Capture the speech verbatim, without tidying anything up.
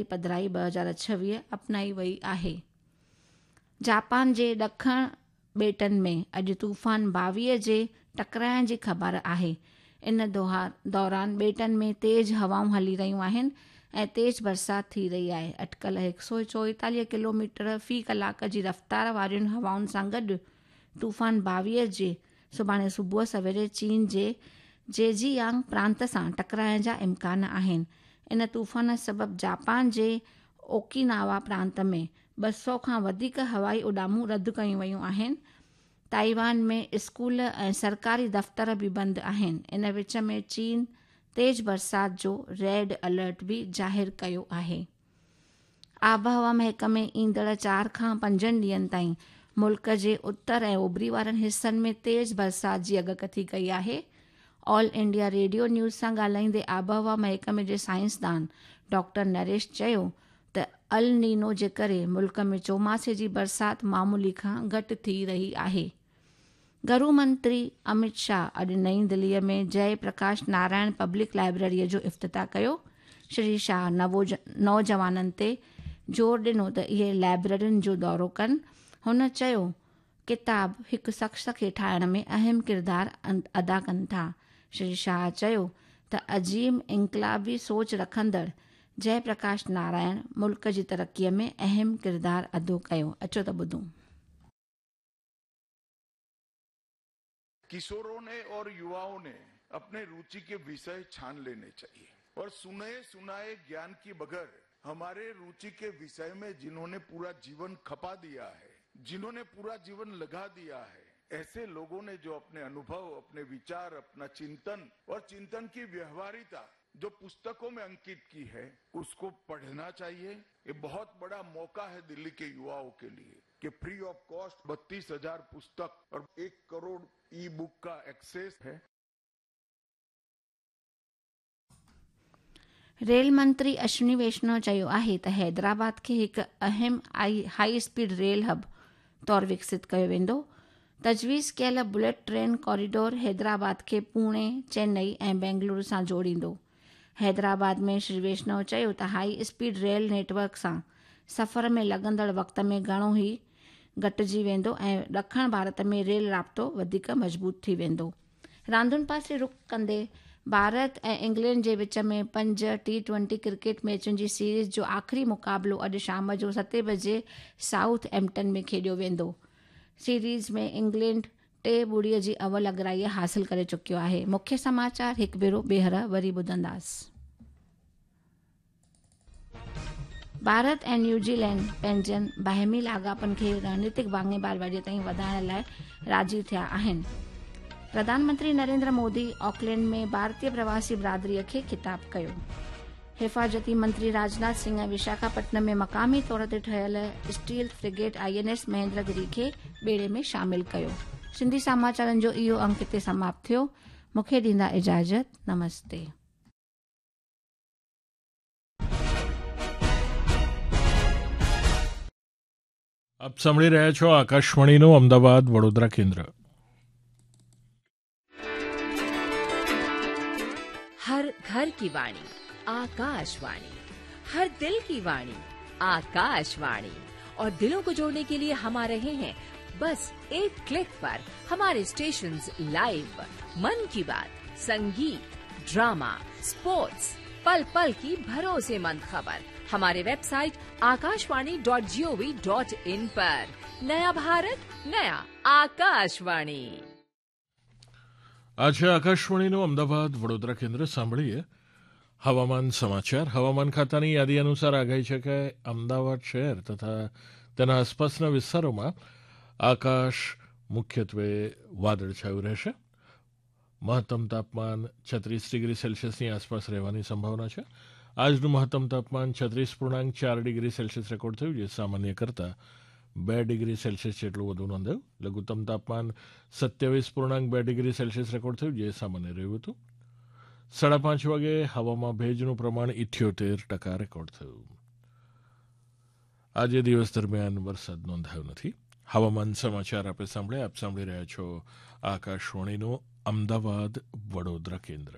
پڌرائي ٻه هزار ڇويهه اپنائي وئي آهي. جاپان جي ڏکڻ ٻيٽن ۾ اڄ طوفان باويءَ جي ٽڪرائڻ جي خبر آهي. ان دوران ٻيٽن ۾ تيز هوائون هلي رهيون آهن ۽ تيز برسات ٿي رهي آهي. اٽڪل هڪ سؤ چوئيتاليهه ڪلو ميٽر في ڪلاڪ جي رفتار وارين هوائن سان گڏ طوفان باويءَ جي سڀاڻي صبح سويري چين جي زيجيانگ پرانت سان ٽڪرائڻ جا امڪان آهن. ان طوفان سبب جاپان جي اوڪيناوا پرانت ۾ ٻه سؤ کان وڌيڪ هوائي اڏامون رد ڪيون ويون آهن. تائيوان ۾ اسڪول ۽ سرڪاري دفتر به بند آهن. ان وچ ۾ چين تيز برسات جو ريڊ الرٽ به ظاهر ڪيو آهي. آبهوا محڪمي ايندڙ چار کان پنجن ڏينهن تائين ملڪ جي اتر ۽ اوڀري وارن حصن ۾ تيز برسات جي اڳڪٿي ڪئي آهي. آل انڊيا ريڊيو نيوز سان ڳالهائيندي آبهوا محڪمي جي سائنسدان ڊاڪٽر نريش چيو ته ال نينو جي ڪري ملڪ ۾ چوماسي جي برسات معمولي کان گهٽ ٿي رهي آهي. گهرو منتري امت شاهه اڄ نئين دليءَ ۾ جئي پرڪاش نارائڻ پبلڪ لائبريريءَ جو افتتاح ڪيو. شري شاهه نوجوانن تي زور ڏنو ته اهي لائبريرين جو دورو ڪن. هن چيو ڪتاب هڪ شخص کي ٺاهڻ ۾ اهم ڪردار ادا ڪن ٿا. شري شاهه چيو ته عظيم انقلابي سوچ رکندڙ جئي پرڪاش نارائڻ ملڪ جي ترقيءَ ۾ اهم ڪردار ادا ڪيو. اچو ته ٻڌون. किशोरों ने और युवाओं ने अपने रुचि के विषय छान लेने चाहिए और सुने सुनाए ज्ञान की बगैर हमारे रुचि के विषय में जिन्होंने पूरा जीवन खपा दिया है, जिन्होंने पूरा जीवन लगा दिया है, ऐसे लोगों ने जो अपने अनुभव, अपने विचार, अपना चिंतन और चिंतन की व्यवहारिता जो पुस्तकों में अंकित की है, उसको पढ़ना चाहिए। ये बहुत बड़ा मौका है दिल्ली के युवाओं के लिए कि फ्री ऑफ कॉस्ट बत्तीस हजार पुस्तक और एक करोड़ ई बुक का एक्सेस है। रेल मंत्री अश्विनी वैष्णव चयो आहे त हैदराबाद खे हिकु अहम हाई स्पीड रेल हब तौर विकसित कयो वेंदो। तजवीज़ कयल बुलेट ट्रेन कॉरिडोर हैदराबाद खे पुणे, चेन्नई ऐं बेंगलुरु सां जोड़ींदो। हैदराबाद में श्री वैष्णव चयो त हाई स्पीड रेल नेटवर्क सां सफ़र में लॻंदड़ वक़्त में घणो ई घटिजी वेंदो ऐं ॾखण भारत में रेल राब्तो वधीक मज़बूत थी वेंदो। रांदुनि पासे रुख कंदे भारत ऐं इंग्लैंड जे विच में पंज टी ट्वेंटी क्रिकेट मैचुनि जी सीरीज़ जो आख़िरी मुक़ाबिलो अॼु शाम जो सते बजे साउथ एम्पटन में खेॾियो वेंदो। सीरीज़ में इंग्लैंड टे ॿुड़ीअ जी अवल अगराई हासिल करे चुकियो आहे। मुख्य समाचार हिकु भेरो ॿीहर वरी ॿुधंदासीं। भारत ऐं न्यूज़ीलैंड पंहिंजनि बाहिमी लाॻापनि खे रणनीतिक भाङेदारीअ ताईं वधाइण लाइ राज़ी थिया आहिनि। प्रधानमंत्री नरेंद्र मोदी ऑकलैंड में भारतीय प्रवासी बिरादरीअ खे ख़िताब कयो। हिफाज़ती मंत्री राजनाथ सिंह विशाखापट्टनम में मक़ामी तौर ते ठहियल steel frigate I N S Mahendragiri खे ॿेड़े में शामिल कयो। सिंधी समाचारनि जो इहो अंक हिते समाप्त थियो। मूंखे ॾींदा इजाज़त। नमस्ते। આપ સાંભળી રહ્યા છો આકાશવાણીનું અમદાવાદ વડોદરા કેન્દ્ર. હર ઘર કી વાણી आकाशवाणी, हर दिल की वाणी आकाशवाणी। और दिलों को जोड़ने के लिए हम आ रहे हैं बस एक क्लिक पर। हमारे स्टेशंस लाइव, मन की बात, संगीत, ड्रामा, स्पोर्ट्स, पल पल की भरोसेमंद खबर हमारे website Akashvani dot G O V dot in पर। नया भारत, नया आकाशवाणी। આજે આકાશવાણીનું અમદાવાદ વડોદરા કેન્દ્ર. સાંભળીએ હવામાન સમાચાર. હવામાન ખાતાની યાદી અનુસાર આગાહી છે કે અમદાવાદ શહેર તથા તેના આસપાસના વિસ્તારોમાં આકાશ મુખ્યત્વે વાદળછાયું રહેશે. મહત્તમ તાપમાન છત્રીસ ડિગ્રી સેલ્સિયસની આસપાસ રહેવાની સંભાવના છે. આજનું મહત્તમ તાપમાન છત્રીસ પૂર્ણાંક ચાર ડિગ્રી સેલ્સિયસ રેકોર્ડ થયું, જે સામાન્ય કરતાં બે ડિગ્રી સેલ્સિયસ જેટલું વધુ નોંધાયું. લઘુત્તમ તાપમાન સત્યાવીસ પૂર્ણાંક બે ડિગ્રી સેલ્સિયસ રેકોર્ડ થયું, જે સામાન્ય રહ્યું હતું. સાડા પાંચ વાગે હવામાં ભેજનું પ્રમાણ ઇઠ્યોતેર ટકા રેકોર્ડ થયું. આજે દિવસ દરમિયાન વરસાદ નોંધાયો નથી. હવામાન સમાચાર આપે સાંભળ્યા. આપ સાંભળી રહ્યા છો આકાશવાણીનું અમદાવાદ વડોદરા કેન્દ્ર.